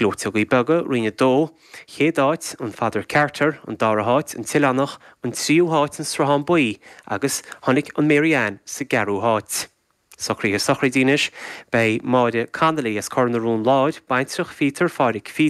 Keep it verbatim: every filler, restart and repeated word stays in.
Gleoiteogaí Beaga, Roinn a Dó, Chéad áit, an Father Carter, an dara háit, an tOileánach, an tríú háit, an Sruthán Buí agus tháinig an Mary Ann sa gceathrú háit. Socruithe sochraide anois, beidh Máire Connolly as Cor na Rón Láir, baintreach Phíotair Phádhraic Phíotair,